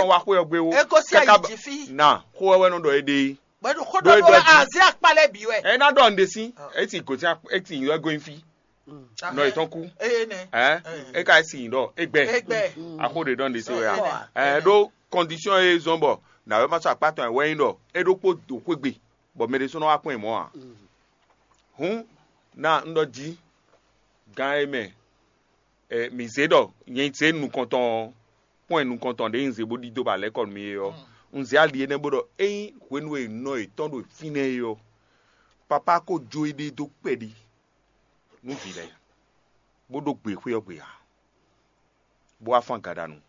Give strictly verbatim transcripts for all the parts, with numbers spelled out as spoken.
wá xwé ɔ́ gbé ó. E gosín ayi jí fí. Na xó wɛ wɛ nɔ ɖɔ é ɖe é. Bɔ é ɖo xó ɖɔ nú wɛ azé akpá lɛ́ɛ bǐ wɛ. Ɛ ná ɖɔ nǔɖé sín, é ti gosín é ti nyǐ wɛ gosín fí. Nɔ yětɔn kú. Eye nɛ. Ɛ é ka é si nyǐ ɖɔ é gbɛ. Égbɛ. Axó ɖě ɖɔ nǔɖé sín wɛ a. Ɛ ɖó kɔndisɔn e zɔn bɔ nǎwe ma sɔ́ akpá tɔn ɛ wɛ nyí ɖɔ é ɖokpó do xwé gbe bɔ mɛ ɖésú nɔ wá kpɔ́n ɛ mɔ̌ ǎ. Hǔn ná un ɖɔ jí gán e mɛ mǐ zé ɖɔ nyɛ zé nukɔntɔn ɔ́, kpɔ́n nukɔntɔn ɖě un zé bó ɖidó ba lɛ̌ kɔ nú mì é ɔ́, un zé ali énɛ́ bó ɖɔ ényí hwenu e nɔ yětɔn ɖo fínɛ́ é ɔ́, papá ko jó éɖée dó kpɛɖi nú vǐ lɛ́ɛ, bó ɖó gbe xwé ɔ́ gbe ǎ, bó wá fán gaɖanu,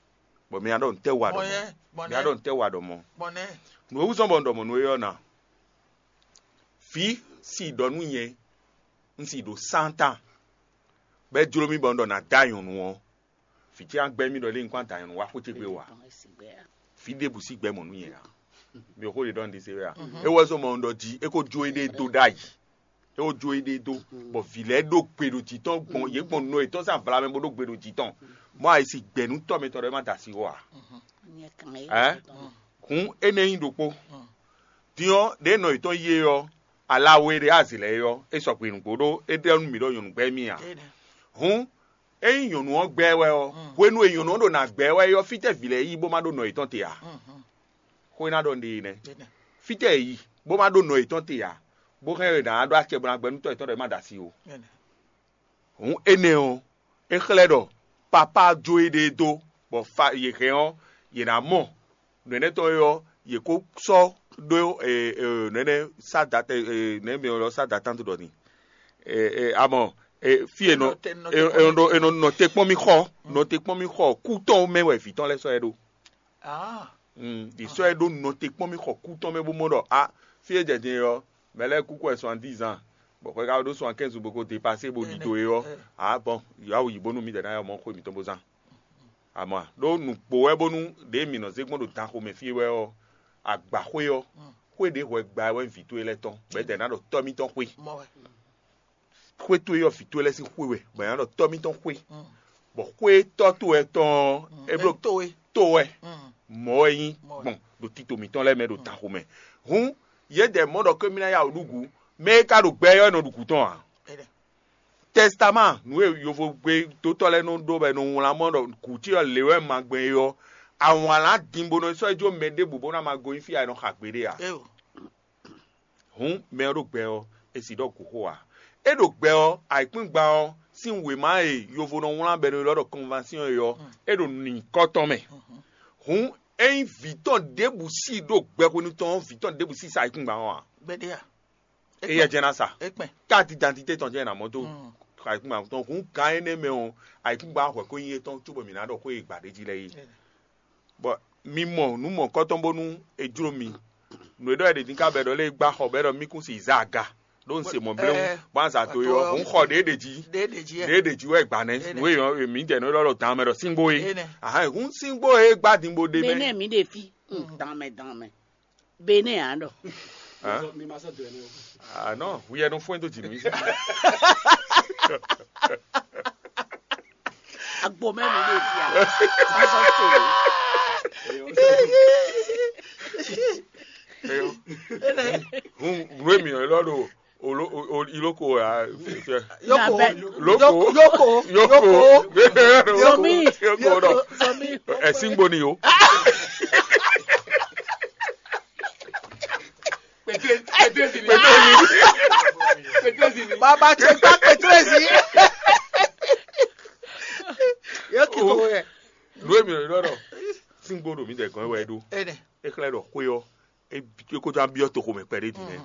bɔ mi ná ɖɔ nǔtɛ́ wa ɖɔ mɔ̌? Mi ná ɖɔ nǔtɛ́ wa ɖɔ mɔ̌? Nǔ e wú zɔ́n bɔ un ɖɔ mɔ̌ nú we ɔ́ ná, vǐ si ɖɔ nú nyɛ, un si ɖo sántán, bɔ é jló mì bɔ un ɖɔ nǎ da nyɔ̌nu ɔ́, vǐ ce ná gbɛ́ mì ɖɔ lé un kɔn da nyɔ̌nu wá xwé ce gbe wǎ. Vǐ ɖěbǔ sí gbɛ́ mɔ̌ nú nyɛ ǎ. Mi ò xó ɖe ɖɔ un ɖi se wɛ a? É wɛ zɔ́n mɔ un ɖɔ jí é ko jó éɖée dó ɖ'ayǐ. É ko jó éɖée dó, bɔ vǐ lɛ́ɛ ɖó gbe ɖo jǐ tɔn gbɔn yě gbɔn nɔ yětɔn sín avla mɛ bó ɖó gbe ɖo jǐ tɔn. Mɔ̌ a yi si gbɛ̌ nú tɔ́ mitɔn ɖɔ é má da asi wɔ ǎ. Ɛ? Hǔn énɛ́ nyí ɖokpó. Din ɔ́, ɖěe nɔ yětɔn yí é ɔ́, ala we ɖé azǐ lɛ́ɛ é ɔ́, é sɔgbe nǔgbó ɖó é ɖɔ nú mǐ ɖɔ nyɔ̌nu gbɛ́ mì ǎ. Hǔn ényí nyɔ̌nu ɔ́ gbɛ́ wɛ ɔ́, hwenu e nyɔ̌nu ɔ́ ɖo nǎ gbɛ́ wɛ é ɔ́, fítɛ́ vǐ lɛ́ɛ yí bó má ɖó nɔ yětɔn te ǎ? Xó e ná ɖɔ un ɖe é nɛ́. Fítɛ́ è yi bó má ɖó nɔ yětɔn te ǎ, bó hɛn è nǎ ɖó acɛ bó ná gbɛ́ nú tɔ́ yětɔn ɖɔ é má ɖo asi ó. Hǔn énɛ́ ɔ́, é xlɛ́ ɖɔ papá jó éɖée dó, bɔ fa yě hɛn ɔ́, yě ná mɔ nǔ énɛ́ tɔn é ɔ́, yě kó sɔ́ ɖó nǔ énɛ́ sádata nɛ̌ mi ɔ́ sádata ɖɔ ni. Amɔ fí e nɔ è nɔ nɔ te kpɔ́n mì xɔ nɔ te kpɔ́n mì xɔ kú tɔn mɛ wɛ vǐ tɔn lɛ́ɛ sɔ́ ɛ ɖó. Ɖi sɔ́ ɛ ɖó nɔ te kpɔ́n mì xɔ kú tɔn mɛ bó mɔ ɖɔ a fí e jɛ din ɔ́, mɛ lɛ́ɛ kú kɔ ɛ soixante-dix ans, bɔ xwɛ ka ɖó soixante-quinze bó ko dépasé bó ɖidó é ɔ́, a bɔn yǎ wǔ yi bónú mǐdɛɛ ná yɔ mɔ xwé mǐtɔn bó zán. Amɔ̌ ɖó nǔgbó wɛ bónú ɖě mǐ nɔ zé gbɔn ɖo danxomɛ fí wɛ ɔ́, agbaxwé ɔ́, xwé ɖě hwɛ gba wɛ vǐ towe lɛ́ɛ tɔn, bɔ é dɛ ná ɖɔ tɔ́ mítɔn xwé. Xwé towe ɔ́, vǐ towe lɛ́ɛ sín xwé wɛ, bɔ é ná ɖɔ tɔ́ mítɔn xwé. Bɔ xwé tɔ́ towe tɔn ɔ́, é bló to wɛ, mɔ̌ wɛ nyí gbɔn ɖo tito mǐtɔn lɛ́ɛ mɛ ɖo danxomɛ. Hǔn yědɛɛ mɔ ɖɔ kémí ná ya wǔ ɖu gǔ, mɛ e ka ɖo gbɛ ɔ́, é nɔ ɖu gǔ tɔn ǎ. Tɛsitaman nǔ e yovogbe dótɔ́ lɛ́ɛ nɔ ɖó bɔ è nɔ wlán mɔ ɖɔ gǔ ce ɔ́ lě wɛ ma gbɛn é ɔ́, awǎnlán din bó nɔ sɔ́ yi jó mɛ ɖěbǔ bó ná ma gosín fí a è nɔ xa gbeɖé ǎ. Hǔn mɛ ɔ́ ɖo gbɛ ɔ́, è sì ɖɔ gǔxo ǎ. É ɖo gbɛ ɔ́, ayǐkúngban ɔ́ sín wěma e yovo nɔ wlán bɔ è nɔ ylɔ́ ɖɔ konvansyɔ́n é ɔ́, é ɖo nyǐkɔ tɔn mɛ. Hǔn ényí vǐ tɔn ɖěbǔ sí ɖo gbɛ hwenu tɔn ɔ́, vǐ tɔn ɖěbǔ sí sa ayǐkúngban ɔ́ ǎ. Gbɛɖe a? Éyɛ́ jɛ́n ná sa. Ekpɛn. Káàdì dantité tɔn jɛ́n ná mɔ dó. Ayǐkúngban tɔn hǔn gǎn énɛ́ mɛ ɔ́, ayǐkúngban hwɛ̌ ko nyí étɔn cóbɔ mǐ ná ɖɔ xó e è gbǎ ɖ'é jí lɛ́ɛ é. Bɔ mi mɔ nǔ mɔ̌kɔtɔn bónú è jló mi. Nǔ e ɖɔ è ɖě dín ká bɔ è ɖɔ lé gbá xɔ bɔ è ɖɔ mí kún si zá aga ɖó un se mɔ̌ bléwu bɔ azǎ dó é ɔ́, hǔn xɔ ɖě ɖě jí. Ɖě ɖě jí wɛ. Ɖě ɖě jí wɛ gbǎ nɛ́. Nǔ e mǐ jɛ nǔ e ɖɔ ɖo dan mɛ ɖɔ síngbó é. Ahán hǔn síngbó é gbá din bó ɖe mɛ. Benɛ mi ɖe fi danmɛ danmɛ. Benɛ a ɖɔ. Mi ma sɔ dɔɛ nɛ o. Ah non, huyɛ nɔ fún ɛ dó jì mí. Agbo mɛ mi ɖe fi a. Ma sɔ tso. Hun nue mi lɔ ɖo olo iloko a. Yoko. Loko. Yoko. Yoko. Zomi. Yoko dɔ. Zomi. Ɛ singbo ni o. Petrezi ni. Petrezi ni. Baba ce gba petrezi. Yóò kí kókó yɛ. Nue mi lɔ ɖɔ singbo ɖo mi dɛ gɔn wɛ ɖo. Ene. E xlɛ ɖɔ xwe ɔ e ko jɔ abiɔ to xomɛ kpɛɖe di nɛ.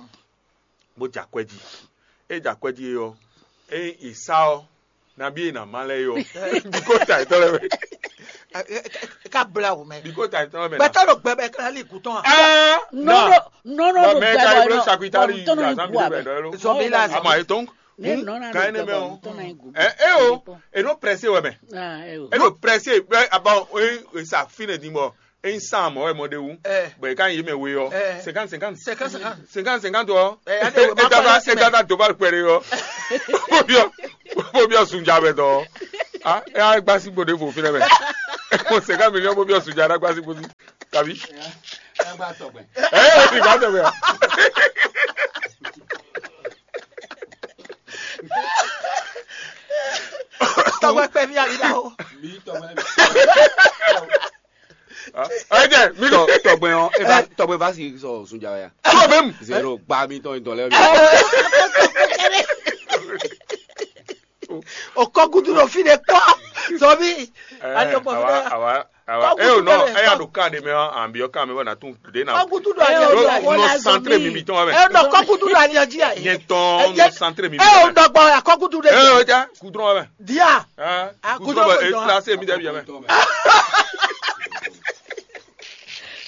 Bó jɛ akwɛ jí. E jɛ akwɛ jí ɔ, e yi sa ɔ, nabi e na ma lɛ yɔ. Biko ta etɔ lɛ mɛ. Ka bla wo mɛ. Biko ta etɔ lɛ mɛ. Gbɛtɔ ɖo gbɛbɛ kla li gutɔn a. Ɛɛ. Nɔnɔ nɔnɔ ɖo gbɛbɛ lɔ. Bɔn tɔnɔ yi gu abɛ. Zɔnbi la. Ama etɔn. Ne nɔnɔ ɖo gbɛbɛ lɔ tɔnɔ yi gu. Ɛ ɛ o, e nɔ prɛse wɛ mɛ. E nɔ prɛse bɛ abɔ e sa fi ne di mɔ. Eyin san mɔ̌ wɛ mɔ ɖe wú, bɔ è ka nyi yě mɛ we ɔ́, cinquante cinquante. Cinquante cinquante ɔ́, é dada dó bá kpɛɖé ɔ́, bó byɔ́ bó byɔ́ sunja mɛ dɔn ɔ́, é á gbá sí gbòdè vo fínɛ́ mɛ. Cinquante millions bó byɔ́ sunja ná gbá sí gbòdì. Tàbí? Ẹ gba tọgbẹ. Ẹ ẹ ti gbà tọgbẹ. Tɔgbɛ kpɛ mi ali la o. Mi tɔgbɛ. Ẹ jẹ mi kọ. Tɔgbɛ ɔ, e ba tɔgbɛ va si sɔ sunja ya. Tọgbẹ mi. Zero gba mi tɔn dɔn lɛ. O kɔ kutu ɖo fi ɖe kpɔ. Zɔbi. Ali o kpɔ fi Awa ɖe. awa awa. Kɔkutu Ẹ o nɔ kɛlɛ, ẹ ya kɔ- ɖo kan ɖe mɛ ɔ, an bi ɔ kan mɛ bɔ na tún ɖe na. Kɔ kutu ɖo ali Ɖo ɔji ayi. nɔ santre mi mi tɔn wa mɛ. Ɛ nɔ kɔ kutu ɖo ali ɔji ayi. Nyɛ tɔn nɔ santre mi mi Ɛ o tɔn wa mɛ. Dɔgbɔ ya kɔ kutu ɖe. Ẹ o ja kudrɔn wa mɛ. Dia. Ɛ Ah, kudrɔn kudrɔn bɛ e dɔn. Trase mi dɛ bi ya mɛ.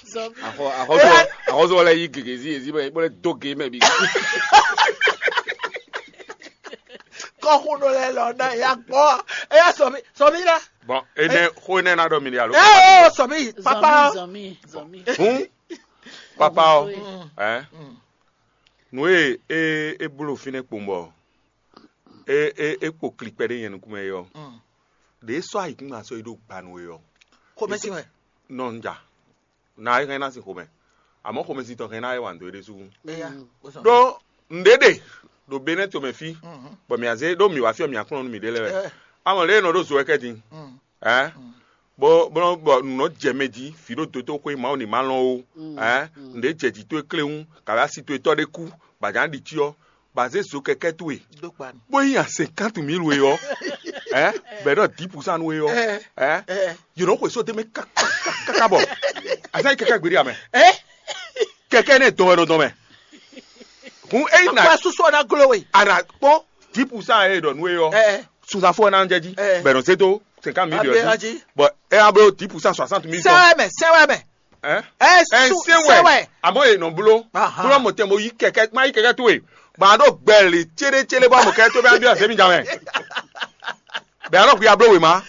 Axɔsɔ axɔsɔ lɛ yi gege zi ezi bɛ bɛ do ge mɛ bi. Kɔxunɔ lɛ lɔ na ya gbɔ. Eya sɔmi sɔmi la. Bɔn enɛ xo enɛ na ɖɔ mi ɖe alo. Ɛ o sɔmi papa. Zɔmi, zɔmi. Hun papa ɔ Oui. ɛ nu e e e blo fi ne kpɔn bɔ e e e kpo klikpɛ ɖe nyɛ nukun mɛ yɔ ɖe sɔ ayikun ma sɔ yi ɖo gbanu yɔ Xomɛsi wɛ. Nɔ n ja na e hɛn na sin xomɛ amɔ xomɛsi tɔ hɛn na e wa ndo ɖe sugu Eya. Bosɔn. Ɖo nɖe ɖe ɖo benɛ tomɛ fi bɔ mi aze ɖo mi wa fi mi akplɔn nu mi ɖe lɛ wɛ amɔ lɛ nɔ ɖo zo wɛ kɛ din ɛ bɔ bɔ bɔ nɔ jɛ mɛ ji fi ɖo doto xwe mawu ni ma lɔn o ɛ nɖe jɛ ji to e kle ŋu kabi asi to e tɔ ɖe ku ba jan ɖi tsi ɔ ba ze zo kɛkɛ towe Do kpa ni. Bó yí yan cinquante mille we ɔ ɛ bɛ ɖɔ dix pour cent nu we ɔ ɛ yìí nɔ xwe sóde mɛ kaka bɔ azan yi kɛkɛ gberi amɛ kɛkɛ ne dɔn wɛ nɔ dɔn mɛ hun eyi na Akpa susu ɔna glo we. Ana kpɔn dix pour cent ye ɖɔ nu we ɔ sunzafo na jɛ ji Eh. bɛ nɔ se to cinquante mille Abe yɔ aji. Bɔn e a blo dix pour cent soixante mille tɔn Sɛwɛ mɛ sɛwɛ mɛ. ɛ Ɛ ɛ su se wɛ sɛwɛ. Amɔ ye nɔ blo Aha. Blo mɔ tɛn mo yi kɛkɛ ma yi kɛkɛ to ye bɔn a ɖo gbɛli tséɖé tséɖé bɔ a mɔ kɛkɛ to bɛ a bi ɔsɛ mi jan mɛ bɛ a ɖɔ kò ya blo wema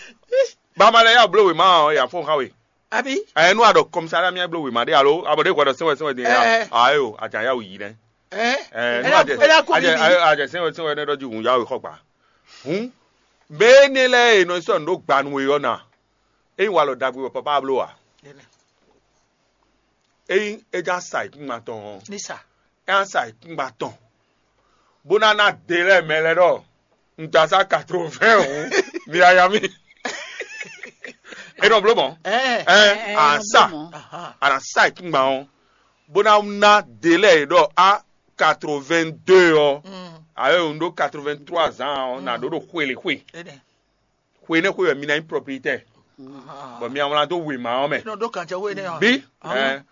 ba ma lɛ ya blo wema ɔ ya fɔ xa we Abi. Ɛ nu a ɖɔ kɔmisa ɖe mi ya blo wema ɖe alo a bɔ ɖe kɔ ɖɔ sɛwɛ sɛwɛ de ya Eh. ayo a jan ya wu yi nɛ Ɛ. ɛ nu Ela a jɛ ko a jɛ bibi. a jɛ sɛwɛ sɛwɛ ne ɖɔ ji hun ya wu xɔ gba hun bɛ ne lɛ e nɔ sɔ ndo gbanu we yɔ na eyi wa lɔ dagbe wɔ papa blo wa eyi e ja sa yi kungba tɔn Nisa. ɛ sa yi kungba tɔn bó ná ná de lɛ mɛ lɛ ɖɔ n ta sa quatre-vingts o mi aya mi e nɔ blo mɔ Ɛ. ɛ a sa Aha. a na sa yi kungba o bó ná ná de lɛ yi ɖɔ a quatre-vingt-deux ɔ Mm. ayo n ɖo quatre-vingt-trois ans ɔ na ɖo ɖo xwele xwe Ene. xwe ne xwe wɛ mi na nyí propriétaire Aha. bɔn mi awlan dó wema ɔ mɛ Nɔ ɖo kànjɛ wo ene ɔ. bi ɛ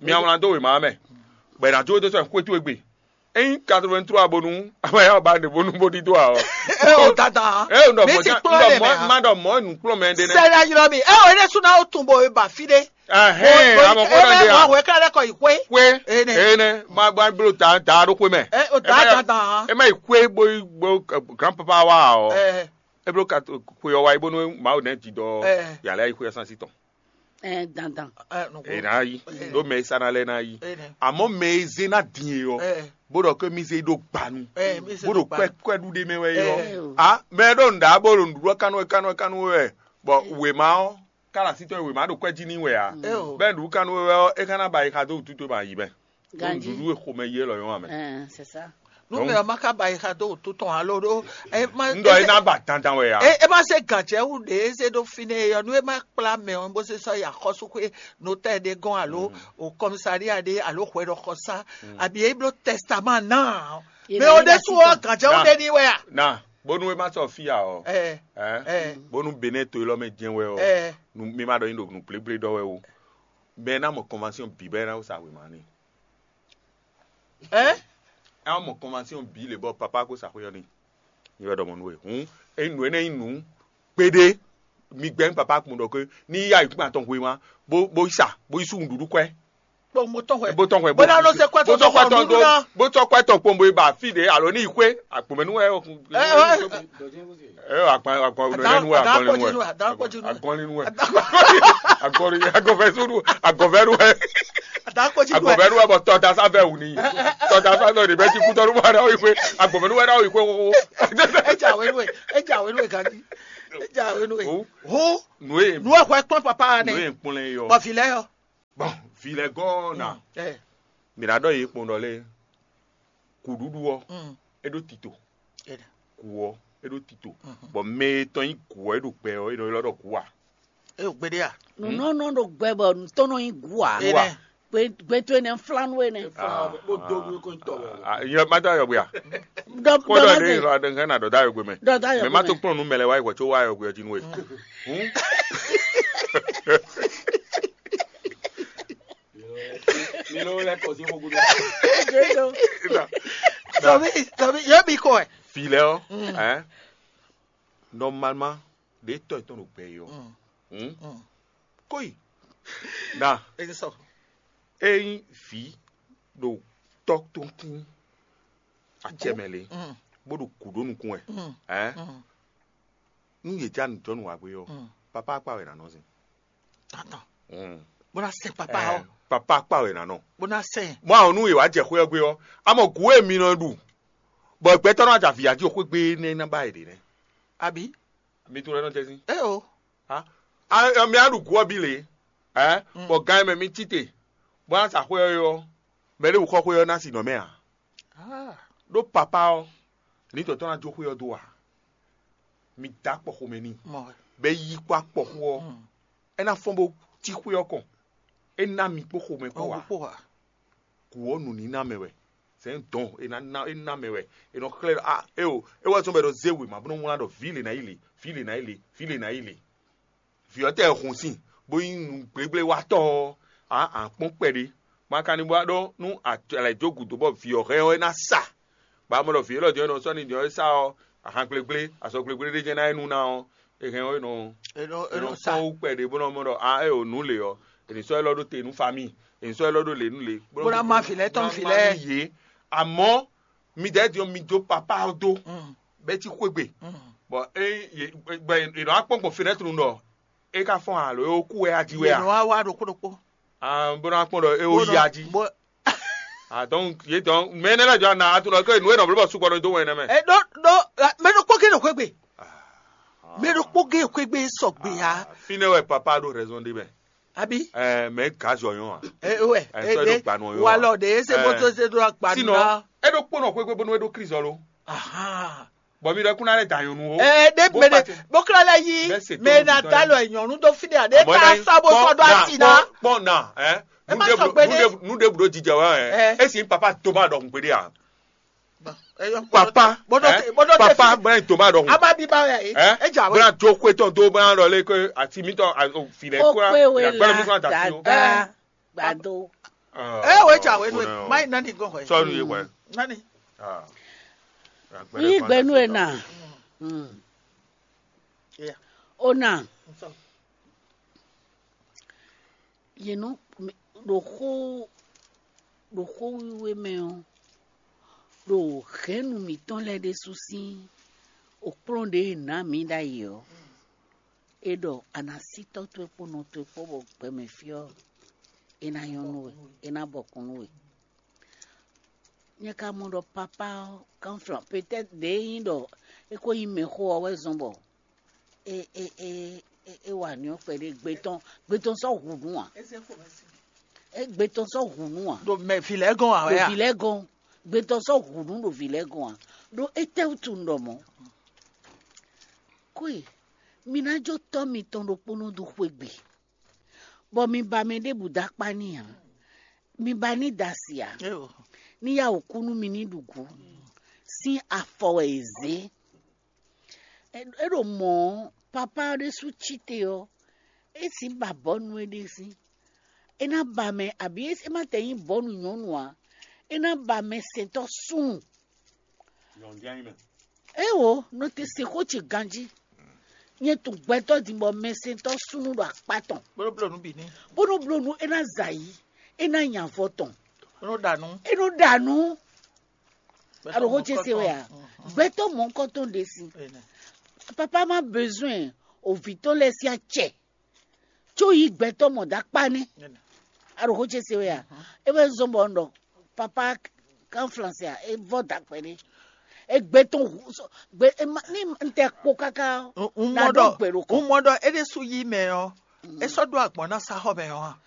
mi awlan dó wema ɔ mɛ bɔn ìdájọ́ tó sọ xwe tó egbe eyin quatre-vingt-trois bonu abaya ba ne bonu bó dídó a ɔ Ɛ o dada. ɛ ɔ Mi ti ndɔ kplɔ́ lɛ mɛ mɔ a. ma dɔ mɔ nu kplɔn mɛ de nɛ Sɛlɛ ayɔrɔ mi. Ɛ o ne suna o tun bo ba fi de. ɛhɛn amɔ kó dɔ de Ɛ a o wɛ kala kɔ yi xwe. xwe Ene. ene ma ba blo ta ta ɖo xwe mɛ Ɛ o da dada. e ma yi xwe bo bo grand papa wa ɔ Ɛ. e blo ka xwe ɔ wa yi bonu mawu ne ti dɔ Ɛ. yàrá yi xwe ɔ sansi tɔn Ɛ dandan. Ɛ nɔ e na yi ɖo mɛ e sa na lɛ na yi Ene. Àmọ́ mɛ e zé ná dín e ɔ Ɛ. bó ɖɔ ké mi zé ɖó gbanu Ɛ mi se bó do ɖo pa. Kpɛ́ kpɛ́ɖú ɖé mɛ wɛ e Ɛ. ɔ a mɛ ɖo nǔɖá bó ɖo nǔɖuɖu kánú kánú kánú wɛ bɔ wěma ɔ kála sítɔ wěma ɖo kwɛ́ jí ní wɛ a Ɛ o. Bɛ́ nǔɖuɖu kánú wɛ ɔ é ká ná ba yi xa dó wútu tó ba yi mɛ Ganji. Nǔɖuɖu e xomɛ yi élɔ́ yɔn amɛ Ɛ c'est ça. Nu mɛ ɔ ma ka ba yi xa dó wútu tɔn alo ɖo. Ɛ ma. Ŋdɔ é ná ba dandan wɛ a E e ma se gànjɛ wu ɖe e se ɖo fi ne yɔ nu e ma kpla mɛ ɔ bó se sɔ yi axɔsúxwé notɛ ɖe gɔn alo o kɔmisaria ɖe alo hwɛɖɔxɔsá abi e blo testament na mɛ o ɖe su ɔ gànjɛ wu ɖe ni wɛ a. na bónú é má sɔ fí a ɔ Ɛ ɛ ɛ. Bónú Benin to élɔ́ mɛ jɛn wɛ ɔ Ɛ nu mi ma ɖɔ nyi ɖo nǔ gblégblé ɖɔ wɛ o bɛn ná mɔ convention bǐ bɛn ná sa wěma ni ɛ. ɛ wá mɔ convention bǐ lě bɔ papa kó sa xwé ɔ ni. Nyi wɛ ɖɔ mɔ nú we hǔn ényí nǔ énɛ́ nyí nǔ kpéɖé mi gbɛ́ nú papa kpɔn ɖɔ ké ní yí ayǐkúngban tɔn hwema bó bó yi sa bó yi sú nǔɖuɖu kwɛ́ Kpɔn mo tɔn hwɛ. bó tɔn hwɛ Bó ná lɔ se kwɛ bó tɔn tɔn kwɛ tɔn tɔn nǔɖuɖu ná. Bó tɔn kwɛ tɔn kpɔn bó yi ba fí ɖě alo ní yi xwé àkpòmɛ nú wɛ Ɛ ɛ. ɛ àgbọn àgbọn Àdá- nú wɛ àdá àgbọn kpɔ́ nú jí wɛ nú, àdá kpɔ́ jí nú. Àgbọn nú wɛ àgbọn nú wẹ àgbọn fẹ́ sódù àgbọn fẹ́ nú wẹ Àdá kpɔ́ jí nú àgbọn ɛ. fẹ́ nú wẹ bɔ tɔta sáfẹ́ wù ní tɔta sáfẹ́ òní bẹ́ẹ̀ ti kú tọ́nu mọ́ àdáwọ̀ ìpè àgbọn fẹ́ nú wẹ dáwọ̀ ìpè kókó. Ẹ jà wé nú ẹ. Ẹ jà wé nú ẹ gàdí. Ẹ jà wé nú ẹ. Ó. Hó. Nùwé Nú ẹ hwẹ kpɔ́n papa nùwé nẹ. Nkpɔnlɛ yɔ. Bɔ̀fì lɛ yɔ. Bɔn, vǐ lɛ́ɛ gɔ́ ná. Ɛ. Mǐ ná ɖɔ yě kpɔn ɖɔ lé, kǔɖuɖu ɔ́, Mm. É ɖó tito. Ɛ. Kǔ ɔ́, é ɖó tito. Mhm. Bɔ mɛ e tɔn nyí kǔ ɔ́, é ɖo gbɛ ɔ́, é nɔ ylɔ́ ɖɔ kǔ a? É ɖo gbeɖé a? Nǔnɔnɔ ɖo gbɛ bɔ nǔtɔn nɔ nyí gǔ a? Gbe towe nɛ́ flánú énɛ́. Bó dó nú kó tɔ wɛ. Yɔ má dá yɔ gbé a? Kpɔ́ ɖɔ ɖé lɔ aɖe hɛn na ɖɔ dá yɔ gbé mɛ. Ɖɔ dá yɔ gbé mɛ. Mɛ má tó kplɔ́n nú mɛ lɛ wá yi hwɛ có wá yɔ gbé ɔ́ jí nú we. Hǔn. Mi ló lɛ kɔ sí xógúdú. Sɔmi, sɔmi, yɛ mi kɔ ɛ. Filɛ ɔ, Mm. Ɛ, normalement ɖe tɔ tɔn ɖo gbɛ yi ɔ. Mm. Hmm? Mm. Kóyi. Na. Eyi sɔ. Eyin vi ɖo tɔ tɔn tín acɛmɛ le, Mm. Bó ɖo kú ɖó nukún wɛ. Mm. Ɛ. Mm. Nú yě já nǔjɔnú wǎ gbé ɔ́, Mm. Papa akpa wɛ nǎ nɔ zin. Attends. Mm. Bó ná sɛn papa Ɛ, ɔ́. Papa akpa wɛ nǎ nɔ. Bó ná sɛn. Mɔ àwọn nú yě wá jɛ xwé ɔ́ gbé ɔ́, amɔ gǔ e mi nɔ ɖu, bɔ gbɛtɔ́ nɔ ajǎ vǐ ají xwé gbé nɛ́ ná ba yě ɖe nɛ́. Abi. Mi tunwun ɖɔ é nɔ jɛ sín. É o. A, a, mi á ɖu gǔ ɔ́ bí lě. Ɛ, Mm. Bɔ gan e mɛ mi cí te, bó ná sa xwé ɔ́ ɔ́, mɛ ɖé wǔ xɔ xwé ɔ́ ná si nɔ mɛ ǎ. Ah. Ɖó papa ɔ́, ní tɔn tɔn ná jó xwé ɔ́ dó ǎ. Mi dá kpɔxomɛ n'i. Mɔ wɛ. Bɛ yí kpó akpɔxó ɔ́, Mm. É ná fɔ́n bó cí xwé ɔ́ kɔn. É ná mi kpó xomɛ kpó Ɔ́ wá. Kpó wá. Kú ɔ́ nǔníná mɛ wɛ. Sɛn dɔn é ná ná é ná mɛ wɛ. É nɔ xlɛ́ ɖɔ a é o é wá sɔn bɛ ɖɔ zé wěma bó nɔ wlán ɖɔ vǐ lě ná yi lě, vǐ lě ná yi lě, vǐ lě ná yi lě. Vǐ ɔ́ tɛ hun sin bó nyí nǔgblégbléwatɔ́ ɔ́, a a kpɔ́n kpɛɖé. Ma ka ní bó wá ɖɔ nú alɛ jó gǔdo bɔ vǐ ɔ́ hɛn ɔ́ é ná sa. Bɔ a mɔ ɖɔ vǐ élɔ́ din ɔ́ é nɔ sɔ́ n'i din ɔ́ é sa ɔ́, ahan gblégblé, azɔgblégblé ɖé jɛ́n ná é nú ná ɔ́, é hɛn ɔ́ é nɔ É nɔ é é nɔ nɔ sa. Fɔ́n wú kpɛɖé bó nɔ mɔ ɖɔ a é o nǔ lě ɔ́, è nǐ sɔ́ élɔ́ ɖó te nú famíi, è nǐ sɔ́ élɔ́ ɖó lě nú lě. Bó ná má vǐ lɛ́ɛ tɔn nú vǐ lɛ́ɛ. Yě. Amɔ̌ midɛɛ din ɔ́ mi jó papá ɔ́ dó Mm, bɛ́ cí xwé gbe. Mm. Bɔ é yě gbɛ è nɔ wá kpɔ́n gbɔn fenɛ́tru ɖɔ é ka fɔ́n alo é kú wɛ a jí wɛ Yě a? Nɔ wá wá ɖokpó ɖokpó. Ah, bó ná kpɔ́n ɖɔ é ó Bó yí nɔ- a jí. bó- Ah, donc yě dɔn mɛ énɛ́ lɛ́ɛ jɔ ana a tunɔ ké nǔ e nɔ bló bɔ sukpɔ nɔ dó wɛn nɛmɛ. E ɖó ɖó mɛ ɖokpó gé ɖo xwé gbe. Mɛ ɖokpó gé xwé gbe sɔgbe ya. Fínɛ́ wɛ papa ɖo raison ɖe mɛ. Abi. Ɛ mɛ gazɔ yɔn a. Ɛ wɛ. Ɛ sɔ ɖo gbanɔ yɔn a. Walɔ de ese moto se ɖo agbanɔ. Sinon e ɖo kpɔnɔ xwé gbe bónú e ɖo krizɔ lo. Aha. Bɔn mi ɖɔ kún alɛ da yɔn nu o. Ɛ ɖe Bó mɛ ɖe pati. Bó kla lɛ yi Bɛ se mɛ tó na ta lɔ nyɔnu dó fi ɖe a ɖe Àmọ́ ta ná sɔ bó kpɔn sɔ ɖo na, asi na. Kpɔn na ɛ. Ẹ má sɔ gbédé. Nu ɖe ɖo jijɛ wa ɛ. Ɛ. Esi papa tó ma ɖɔ gbédé a. Papa, bɔdɔ ɛ? Tɛ bɔdɔ tɛ Papa fi bɛn tó ma ɖɔ. Ama bi ba ya ye. Ɛ. E ja we. Bɛn jo kwe tɔn do bɛn lɔ le ko ati mi tɔn a o fi lɛ Ó kura pé wé gbɛlɛ mi la fún ata fi o. Dada gbado. Ɛ o e ja we nu e ma yi nani gɔn hɔ ye. Sɔnu ye wɛ. Nani. Yí gbɛnu e na. Yeah. O na. Sɔ. Yě nɔ ɖo xó ɖo xó wiwe mɛ ɔ́, ɖo hɛ̌nnu mǐtɔn lɛ́ɛ ɖésú sín okplɔ́n ɖě e nǎ mǐ ɖ'ayǐ ɔ́, é ɖɔ a nǎ sí tɔ́ towe kpó nɔ towe kpó bɔ gbɛmɛ fí ɔ́, é ná nyɔ́ nú we, é ná bɔkun nú we. Nyɛ ka mɔ ɖɔ papá ɔ́, kanflan, peut-être ɖě nyí ɖɔ é ko nyí mɛxó ɔ́ wɛ zɔ́n bɔ é é é é é wa nǔ ɔ́ kpɛɖé gbe tɔn gbe tɔn sɔ́ hu nǔ ǎ. É gbe tɔn sɔ́ hu nǔ ǎ. Ɖo mɛ vǐ lɛ́ɛ gɔn ǎ wɛ Ɖo a? Vǐ lɛ́ɛ gɔn gbe tɔn sɔ́ hu nǔ ɖo vǐ lɛ́ɛ gɔn ǎ. Ɖó étɛ́wútu un ɖɔ mɔ̌? Kwe, mi ná jó tɔ́ mitɔn ɖokpónɔ dó xwé gbe, bɔ mi ba mɛ ɖěbǔ dó akpá n'i ǎ. Mi ba ní da asi ǎ. Ní yá wǔ kú nú mi ní ɖu gǔ. Sín afɔ wɛ è zě. É ɖo mɔ̌ ɔ́, papá ɔ́ ɖésú cí te ɔ́, é sǐ ba bɔ̌nu é ɖe sín. É ná ba mɛ abǐ é má tɛ nyí bɔ̌nu nyɔ̌nu ǎ. É ná ba mɛ sɛntɔ́ súnnu. Éwo, nɔ te se xó ce ganjí. Nyɛ tunwun gbɛtɔ́ din bɔ mɛsɛntɔ́ súnnu ɖo akpá tɔn. Bó nɔ bló nǔ bǐ n'i. Bó nɔ bló nǔ é ná zɛ ayǐ, é ná nya avɔ tɔn. Bó nɔ ɖa nǔ. É nɔ ɖa nǔ. Aɖo xó ce se wɛ a? Gbɛtɔ́ mɔ̌hunkɔtɔn ɖe si. Papa má besoin o vǐ tɔn lɛ́ɛ sín acɛ. Có yí gbɛtɔ́ mɔ dó akpá nɛ́. Aɖo xó ce se wɛ a? É wɛ zɔ́n bɔ un ɖɔ papa kan flansɛ a? É vɔ dó akpɛ nɛ́. É gbé tɔn hu sɔ gbé é ma ní un tɛ kpo káká ɔ́. Un na mɔ ɖɔ ɖó gbè ɖo kɔ. Un mɔ ɖɔ é ɖésú yí mɛ ɔ́, é sɔ́ ɖó agbɔ̌n ná sá xɔ mɛ ɔ́ a?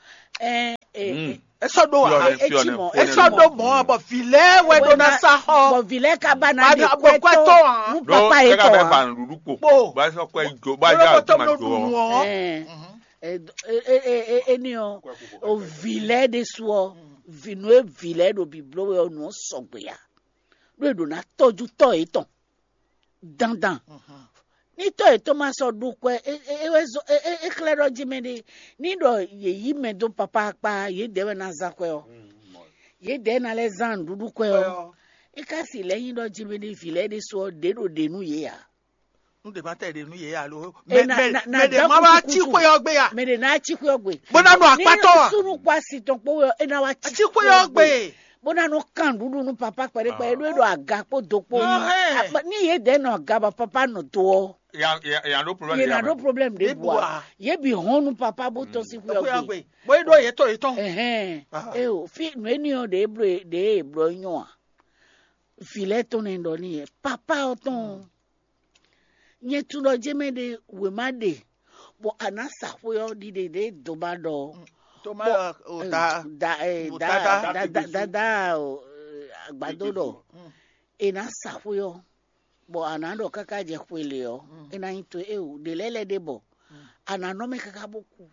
Ɛɛ e sɔ́ ɖó ǎ. Etí mɔ, e sɔ́ ɖó mɔ̌, bɔ vǐ lɛ́ɛ wɛ ɖó ná sá xɔ. Bɔ vǐ lɛ́ɛ ka ba ná ɖe kwɛ́ tɔn nú papa yě tɔn ǎ. Kpo. Bá sɔ kwɛ jo, bá ja jo ma jo ɔ. Eni ɔ, o vǐ lɛ́ɛ ɖésú ɔ, vǐ nú e vǐ lɛ́ɛ ɖo bǐbló wɛ ɔ, nǔ ɔ sɔgbe ǎ. Ɖó e ɖǒ ná tɔ́jú tɔ́ yětɔn dandan. Ní tɔ́ yětɔn ma sɔ́ ɖu kwɛ, é wɛ zɔ́n é xlɛ́ ɖɔ jí mɛ ɖé. Ní ɖɔ yě yí mɛ dó papá akpá, yědɛɛ wɛ ná zán kwɛ ɔ́. Yědɛɛ ná lɛ́ zán nǔɖuɖu kwɛ ɔ́. É ka si lɛ́ nyí ɖɔ jí mɛ ɖé vǐ lɛ́ɛ ɖésú ɔ́, ɖě ɖo ɖě nú yě ǎ. Nú ɖě ma tɛ ɖě nú yě alo. Mɛ ɖě ma wá cí xwe ɔ́ gbe ya. Mɛ ɖě ná cí xwe ɔ́ gbe. Bó ná nɔ akpátɔ a. Súnú kpó asi tɔn kpó wɛ é ná wá cí xwe ɔ́ gbe. Bó ná nɔ kan nǔɖuɖu nú papá kpɛɖé kpɛɖé ɖó é ɖo aga kpó do kpó. Ní yě dɛ́ nɔ aga bɔ papá nɔ do ɔ́, yě ná ɖó problème ɖěbǔ a. Yě bǐ hɔn nú papá bó tɔ́n sín xwe ɔ́ gbe. Bó é ɖó yě tɔ yě tɔn. Ɛhɛn. Eo fí nǔ énɛ́ ɔ́ ɖě bló ɖě bló nyɔ a. Vǐ lɛ́ɛ tɔn nɛ ɖɔ n'i yɛ papá ɔ́ tɔn. Nyɛ tunɖɔ jɛ́n mɛ ɖé wěma ɖe, bɔ a nǎ sa xwé ɔ́ ɖiɖe ɖě doma ɖɔ. Toma o da da eh, o da da da da da da da o eh, agbadó ɖɔ. È nǎ sa xwé ɔ́, bɔ a nǎ ɖɔ káká jɛ xwe lě ɔ́, é ná nyí to eo ɖě lɛ́ɛ lɛ́ ɖe bɔ a nǎ nɔ mɛ káká bó kú.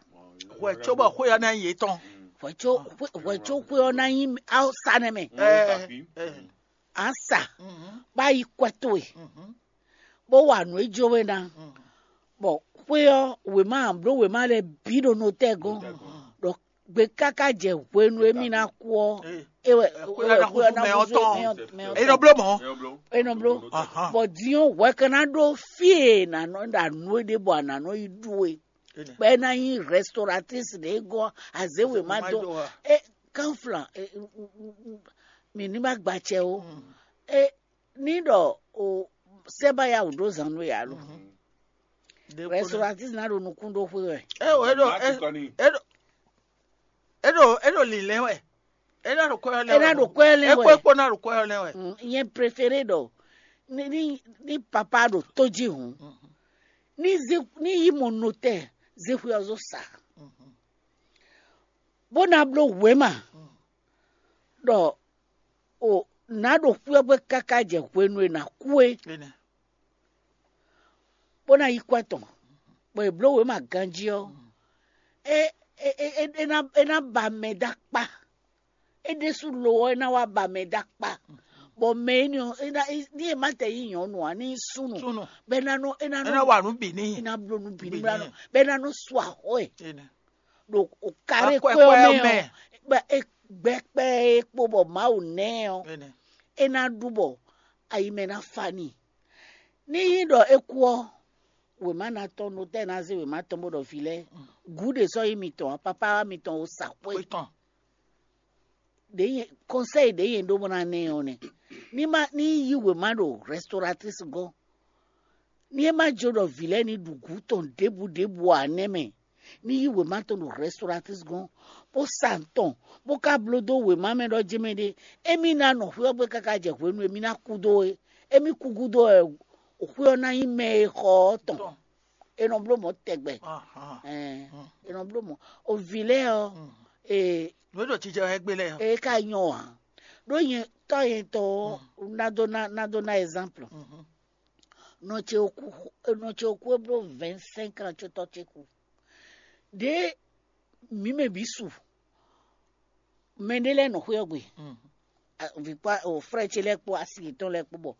Hwɛ cóbɔ xwé ɔ́ ná nyí yětɔn. Hwɛ có hwɛ có xwé ɔ́ ná nyí awúsa nɛ́ mɛ. Ɛ ɛ. A sa bá yi kwɛ towe, bó wa nǔ e jó we ná, bɔ xwé ɔ́ wěma bló wěma lɛ́ɛ bǐ ɖo notɛ́ gɔ́n, ɖɔ gbe káká jɛ hwenu e mì ná kú ɔ́, é wɛ é wɛ xwé ɔ́ ná húzú mɛ ɔ́ tɔn. É nɔ bló mɔ̌. É nɔ bló. Bɔ din ɔ́ hwɛ ka ná ɖó fí e nǎ nɔ ɖa nǔ e ɖě bɔ a nǎ nɔ yi ɖu é. Bɔ é ná nyí restauratrice ɖě gɔ́ azé wěma dó. É kanflan mǐ ní ma gba acɛ ó. É ní ɖɔ o sɛ́ ba ya wǔ ɖó zan nú we alo. Restauratrice ná ɖo nukún ɖó xwé wɛ. É ɖo é ɖo é ɖo é ɖo lǐnlɛ́n wɛ. É ná ɖo kwɛ́ ɔ́ lɛ́n wɛ. É ná ɖo kwɛ́ ɔ́ lɛ́n wɛ. É kpó ná ɖo kwɛ́ ɔ́ lɛ́n wɛ. Nyɛ préféré ɖɔ ní ní ní papa ɖo tó jí hǔn, ní zé ní yí mɔ notɛ́ zé xwé ɔ́ zó sa, bó ná bló wěma ɖɔ o nǎ ɖo xwé ɔ́ gbé káká jɛ hwenu e nǎ kú é, bó ná yí kwɛ́ tɔn, bɔ è blǒ wěma ganjí ɔ́, é é é é é ná é ná ba mɛ dó akpá. É ɖésú lo ɔ́, é ná wá ba mɛ dó akpá, bɔ mɛ énɛ́ ɔ́, é ná ní è má tɛ nyí nyɔ̌nu ǎ, ní nyí súnnu, bɔ é ná nɔ é ná nɔ wa nǔ bǐ n'i. É ná bló nǔ bǐ n'i bɔ é ná nɔ su axɔ́ ɛ ɖo karé kwɛ́ ɔ́ mɛ ɔ́, bɔ é gbɛ́ kpɛ́ é kpó bɔ Mawu nɛ́ ɛ ɔ́, é ná ɖu bɔ ayi mɛ ná fa n'i. Ní nyí ɖɔ é kú ɔ́, wěma ná tɔ́n notɛ́ ná zé wěma tɔn bó ɖɔ vǐ lɛ́ɛ gǔ ɖě sɔ́ nyí mitɔn ǎ, papá wá mitɔn o sa xwé. Ɖě nyɛ kɔnsɛ́yi ɖě nyɛ ɖó bó ná ná ɛ ɔ́ nɛ́. Ní má ní yí wěma ɖo rɛstɔratísi gɔ́n, ní é má jó ɖɔ vǐ lɛ́ɛ ní ɖu gǔ tɔn ɖěbǔ ɖěbǔ ǎ nɛ́ mɛ, ní yí wěma tɔn ɖo rɛstɔratísi gɔ́n, bó sa nǔ tɔn, bó ka bló dó wěma mɛ ɖɔ jɛ́n mɛ ɖé, émí ná nɔ xwé ɔ́ gbe káká jɛ hwenu e mí ná kú dó é. Émí kú gúdo wɛ xwé ɔ́ ná nyí mɛ e xɔ ɔ́ tɔn. È nɔ bló mɔ̌ tɛgbɛ. Ɛn, è nɔ bló mɔ̌. O vǐ lɛ́ɛ ɔ́, ee, nǔ e ɖo jijɛ wɛ gbé lɛ́ɛ ɔ́. Ee ka nyɔ ǎ. Ɖó nyɛ tɔ́ nyɛ tɔn ɔ́, ná dó ná ná dó ná exemple. Nɔ ce o kú, nɔ ce o kú e bló vingt cinq ans ce tɔ́ ce kú. Ɖě mǐ mɛ bǐ su, mɛ ɖé lɛ́ɛ nɔ xwé ɔ́ gbe. Vǐ kpó o frère ce lɛ́ɛ kpó asi yětɔn lɛ́ɛ kpó bɔ,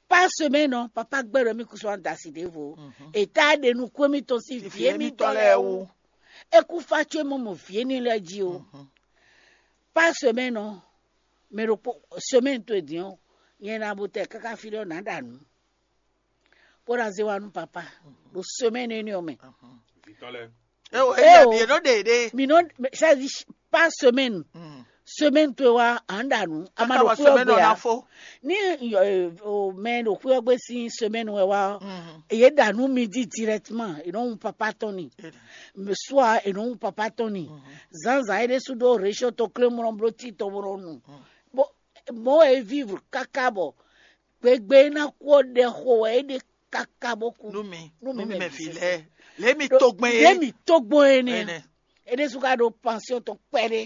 par semaine ɔ́, papa gbɛ́ ɖɔ mì kúsú da asi ɖěvo. È tá ɖe nukún émítɔn sín vǐ émítɔn lɛ́ɛ wú. É kú fá có é mɔ mɔ vǐ énɛ́ lɛ́ɛ jí o. Par semaine ɔ́, mɛ ɖokpó semaine to e din ɔ́, nyɛ ná bo tɛ káká fí ɖɔ nǎ ɖa nǔ, bó ná zé wá nú papa ɖo semaine énɛ́ ɔ́ mɛ. Vitɔlɛ. Eo, eo, eo, yě nɔ ɖe ɖe. Mi nɔ, c'est-à-dire, par semaine. Semaine to wa an ɖa nǔ, a ma ɖo xwé ɔ́ gbe ǎ. Ní mɛ ɖo xwé ɔ́ gbe sín semaine wɛ wá ɔ́, yě ɖa nǔ midi directement, è nɔ hun papa tɔn ni. Soit è nɔ hun papa tɔn ni. Zǎnzǎn é ɖésú ɖó région to klé mlɔ bló tí tɔn mlɔ nu. Bó mɔ̌ wɛ é vivre káká bɔ gbegbe é ná kú ɔ́ ɖɛ xo wɛ é ɖe káká bó kú. Nú mi, nú mi mɛ fi lɛ́ɛ, lě mi tó gbɛn é. Lě mi tó gbɔn é nɛ́. É ɖésú ka ɖo pension tɔn kpɛɖé.